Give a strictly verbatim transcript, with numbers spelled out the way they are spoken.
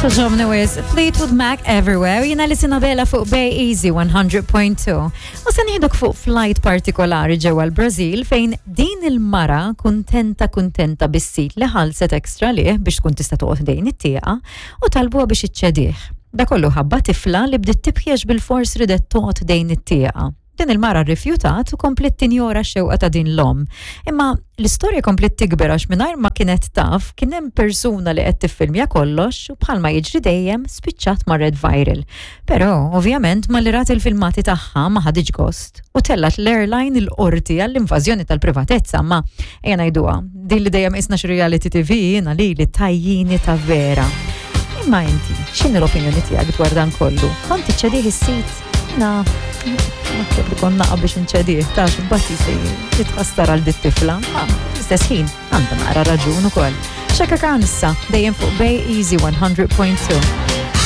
Togħġobni wisq, Fleetwood Mac Everywhere, jiena Alison Abela fuq Bay Easy one hundred point two. U se nieħdok fuq flight partikolari ġewwa l-Brażil, fejn din il-mara kuntenta kuntenta bis-seat li ħallset extra lih biex tkun tista' toqgħod ħdejn it-tieqa, u talbuha biex iċċedih. Da kollu ħabba tifla li bdiet tibki bil-fors ridet toqgħod ħdejn it-tieqa. Din il-mara rrifjutat u komplet tinjora x-xewqa ta' din l-om. Imma l-istorja komplet tikber, għax mingħajr ma kienet taf kien hemm persuna li qed tiffilmja kollox u, bħalma jiġri dejjem, spiċċat marret viral. Però ovvjament malli rat il-filmati tagħha ma ħaditx gost u tellat l-airline il-qorti għall-invażjoni tal-privatezza. Ma ejja ngħiduha, din li dejjem isna xi reality T V, jiena li li tajjini ta' vera. Imma inti, x'inhi l-opinjoni tiegħek dwar dan kollu? Kont iċċedih is-seat? Na, naħseb li konna biex nċedih, ta' x'imbagħad se jitħassar għal dit-tifla. Ma fl-istess ħin għandha naqra raġun ukoll. Chaka Khan issa, dejjem fuq Bay Easy one hundred point two.